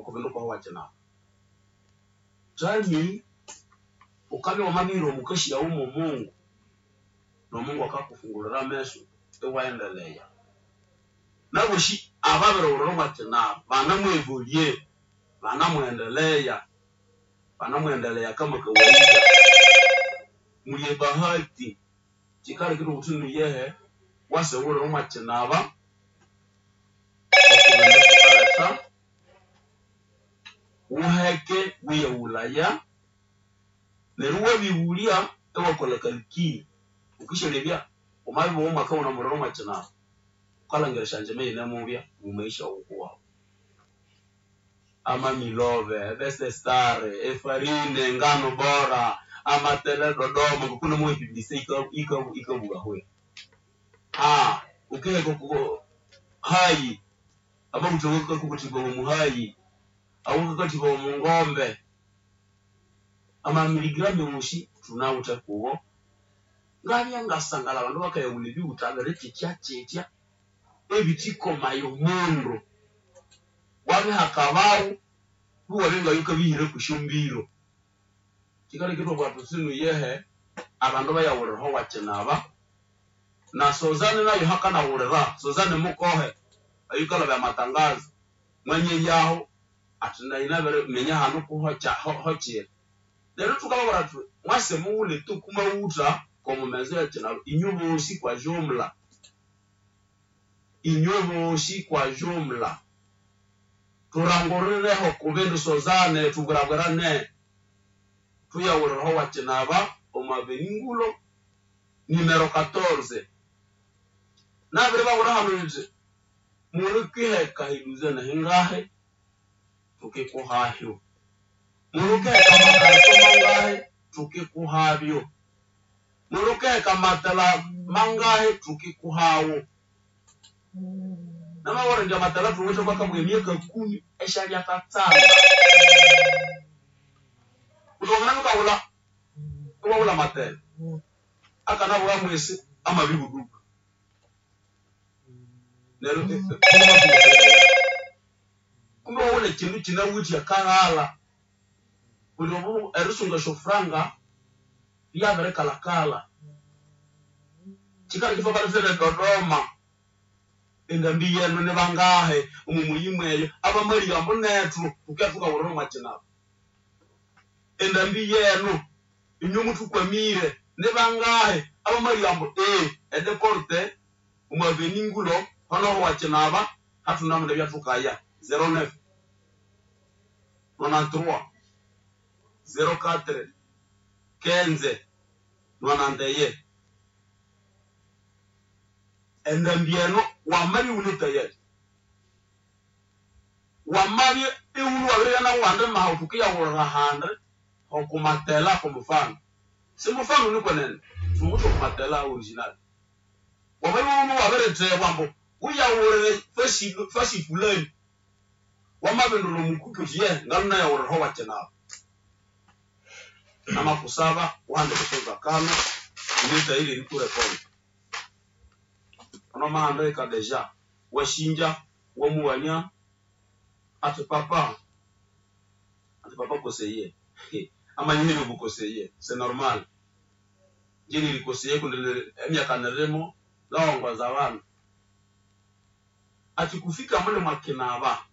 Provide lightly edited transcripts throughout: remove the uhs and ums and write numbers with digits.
Oko bindu kwaho wakinaba. Tami ukabya wamabiyira omukasyawu mo Mungu, no Mungu akakufungulira ameso iwaendeleya. Nabosi ababirighulira omwa kinaba banamuevolye, banamuendeleya, banamuendeleya kama kawaida. Muli ebahati, kikaleka ithwabugha thuthi iyehe, wasighulira omwa kinaba oko bindu thukaletha, wuheke wuyaghulaya, neryo iwabĩghũlya iwakolha calcul. Wukisyalebya wamabibugha omwaka iwunemughulira omwa kinaba, wukalhangira esyangyima iyinemubya omo maisha wukuwawu. Amamilove, ebest star, efarine, engano bora, amatele Dodoma, ngoku namawa epublicité yikabugha ahuya. Wukiheka oko hayi, amawutha awakakokothibawa omuhayi, awakakathibawa omu ngombe, amamiligramu awosi thunawithe kugo. Ngabya ngasangalha abandu bakayaghulha ebiwutha biri kyitya-kyitya ebithikomaya omundu. Wabihakabawo iwabya ngayukabihira kwesyombiro. Kikaleka ithwabugha thuthi inu iyehe, abandu bayaghulira owakinaba, na Sozane nayo hakanaghulira, Sozane mukohe, oyukalabya amatangazo, mwanyeyaho athi nayi nabiriminya hanu kuhochiri. Neryo thukababwira thuthi mwase mughule tu kumawutha komumezo yakinaba inywe bosi kwa jumla, inywe bosi kwa jumla, turangurireho kubindu Sozane thubwirabwirane, thuyaghuliraho wakinaba omu avenue Ngulo numero 14. Nabiribabwira hano nyithi mulukiheka eduzene hingahi tukikuhahyo, mulukiheka amakarito mangahi tukikuhabyo, mulukiheka amatela mangahi tukikuhawo. Namabwira indi amatela thuwithe kwakabwa emyaka 10 esyalyakatsanda. Kundi wangana iwukaghulha iwaghulha amatela akanabugha mwisi amabihuduka. Neryo kumbe waghulha ekindu kinawithe akaghalha kundi obu erisunga esyofuranga lyabirikalhakalha. Kikaleka ithwabalethera e Dodoma endambi yenu nibangahi omo muyi mweyo abamaligha ambu nethu thuke thukaghulira omwa kinaba. Endambi yenu inywe muthukwamire nibangahi abamaligha ambu edeporte omu avenue Ngulo honoho wakinaba hathunamunda ebyathukaya 09 93 04 15 91. Endambi eno wamabya iwune tayari, wamabya iwune wabiribya nawandi maha thukiyaghulira handi okumatela komufano simufano nikwenene thuwithe okumatela original. Wamabya iwune wabirithebwa ambu wuyaghulire fasi fulani, wamabindura omukuki uthi ye ngalunayaghuliraho wakinaba. Namakusaba wuhandike esyonzakano ine tayari erikurekonda. Ono wamahandika deja wasinja wamughania athi papa koseye amanyiherya obukoseye c'est normal. Ingye nirikoseye kundi emyaka nirimo ngawongoza abandu. Athi kufika mule mwakinaba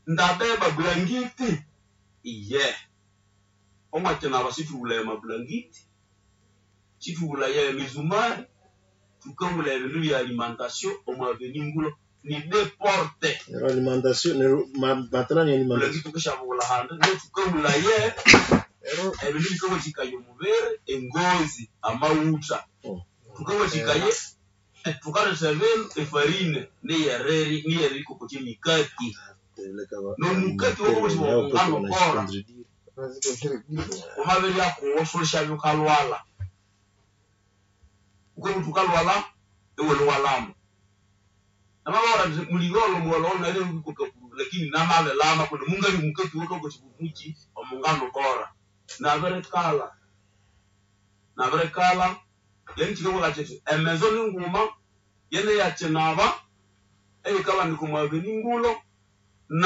ndabeba bulangiti iye. Omwakinaba sithughulaya amabulangiti, sithughulaya emizumari, thukaghulaya ebindu bya alimentation omu avenue Ngulo ni deux porte. Neryo alimentation neryo matela ni alimentation. Bulangiti thukisyabughulha handi no thukaghulaye ebindu bikawathikaya omubiri, engozi, amawutha. Thukawathikaye thukaletha ebindu efarine niyeriri niyerikokotya emikati. Nomukati wakawathibwa omungano bora. Wamabirya kuwo siwulisyabya wukalhwalha. Wukabya wukalhwalha iwuli iwalama. Namababwira indi muligholho mugholhogholho nayi nabirikwa lakini namabilama kundi mungalya omukati owakakothibwa omukyi omungano bora. Nabirikalha, nabirikalha yani kikabugha kyithi emezo ninguma yene yakinaba eyikabanika omu avenue Ngulo.